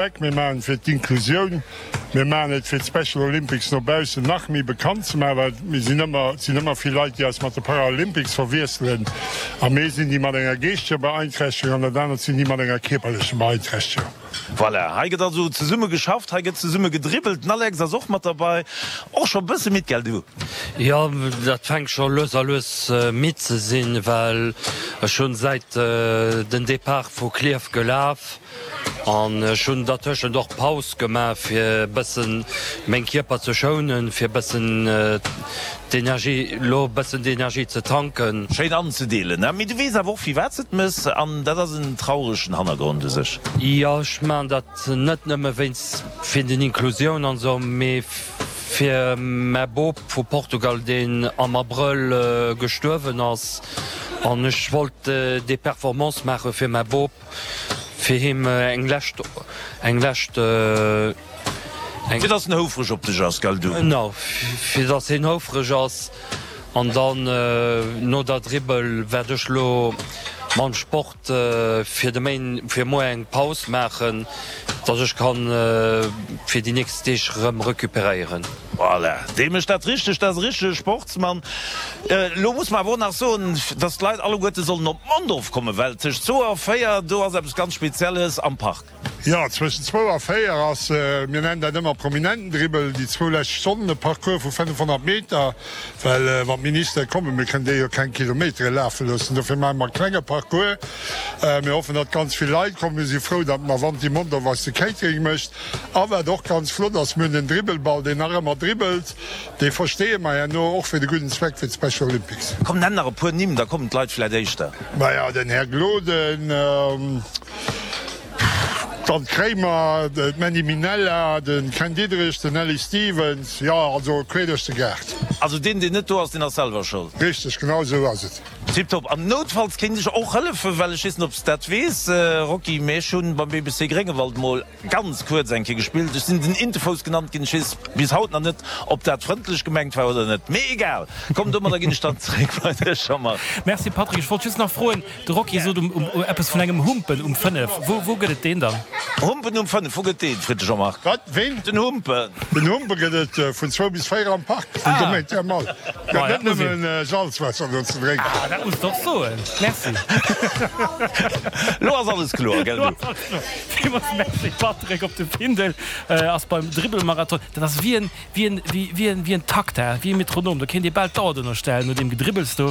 Zweck, mir maachen et fir d'Inklusioun, mir maachen et fir d'Special Olympics no baussen nach méi bekannt ze maachen, well mir sinn ëmmer, et sinn ëmmer vill Leit, déi eis mat de Paralympics verwiesselen a mir sinn déi mat enger geeschteger Beeinträchtegung an dat anert sinn déi mat enger kierperlecher Beeinträchtegung. Voilà, hei gëtt also zesumme geschafft, hei gëtt zesumme gedribbelt. Den Alex ass och mat derbei, och scho e bësse midd, gell du? Jo, dat fänkt scho lues a lues midd ze sinn, well ech hunn säit den Depart vu Klierf gelaf. An ech hunn dertëschent och Paus gemaach, fir e bëssen meng Kierper ze schounen, fir e bëssen d'Energie, lo e bëssen d'Energie ze tanken. Schéin anzedeelen, ne? Mee du weess awer och, firwat s de et mëss, an dat ass en trauregen Hannergrond u sech. Jo, ech maachen dat net nëmme wéinst fir den Inklusioun an esou, mee fir mäi Bop vu Portugal, deen am Abrëll gestuerwen ass. An ech wollt déi Performance maache fir mäi Bop. Fir him eng lescht, eng lescht, eng. Fir dass en houfreg op dech ass, gell du? Genau, fir dass hien houfreg ass. An dann no der Dribbel wäert ech lo mam Sport fir de Méin, fir muer eng Paus maachen, dass ech kann fir déi nächst Deeg rëm recuperéieren. Voilà, dee mécht dat richteg, dat ass e richtege Sportsmann. Elo muss mer awer och nach soen, dass d'Leit alleguerte sollen op Mondorf kommen, well tëscht zwou a véier, do ass eppes ganz Spezielles am Park. Jo, zwëschen zwou a véier ass, mir nennen dat ëmmer Prominentendribbel, déi zwou lescht Stonnen, e Parcours vu 500 Meter, well wann d'Ministere kommen, mir kënnen déi jo keng Kilometere lafe loossen, dofir maache mer e klenge Parcours. Mir hoffen, datt ganz vill Leit kommen. Mir si frou, datt d'Mavanti Mondorf eis de Catering mécht. A wat och ganz flott ass, mir hunn den Dribbelball, deen nach ëmmer dribbelt. Dee versteeë mer herno och fir de gudden Zweck, fir d'Special Olympics. Komm, nenn nach e puer Nimm, da kommen d'Leit vläit éischter. Maja, den Här Gloden, d'Anne Kremer, d'Mandy Minella, de Ken Diederich, den Aly Stevens, jo, also queer duerch de Gaart. Also deen, deen net do ass, deen ass selwer schold. Richteg, genau esou ass et. Tiptop. An noutfalls kéint ech och hëllefen, well ech weess net, ob s de dat weess, Rocky, mee ech hunn beim BBC Gréngewald mol Ganz kuerz eng Kéier gespillt. Ech sinn den Intefouss genannt ginn. Ech weess bis haut nach net, ob dat frëndlech gemengt war oder net. Mee egal. Komm, domadder ginn ech dann zeréck bei dech, Jean-Marc. Merci Patrick. Ech wollt just nach froen, de Rocky sot um eppes vun engem Humpen um 5. Wou wou gëtt et deen dann? Humpen um 5, wou gëtt deen? Freet de Jean-Marc. Wat? Ween? Den Humpen. Den Humpe gëtt et vun zwou bis 4 am Park vum Domaine Thermal. Gëtt net nëmmen Salzwaasser do ze drénken. Ah, dat muss de och soen. Merci. Lo ass alles kloer, gell du? Villmools Merci Patrick. Op de Findel ass beim Dribbelmarathon, dat ass wéi en, wéi en, wéi en, wéi en Takt, he, wéi e Metronom, do kéint ee bal d'Auer drënner stellen no deem Gedribbels do.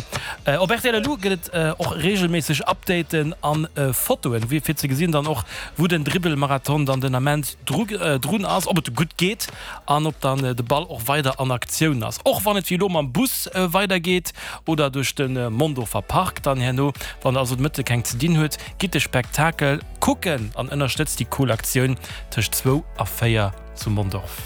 Op rtl elo gëtt et och reegelméisseg Updaten an Fotoen, wéi fir ze gesinn dann och wou den Dribbelmarathon dann den Ament dru, drun ass, ob et gutt geet an ob dann de Ball och weider an Aktioun ass. Och wann et wéi elo mam Bus weider geet oder duerch de Mondorfer Park dann herno. Wann der also de Mëtte keng ze dinn huet, gitt de Spektakel kucken an ënnerstëtzt déi cool Aktioun tëscht zwou a 4 zu Mondorf.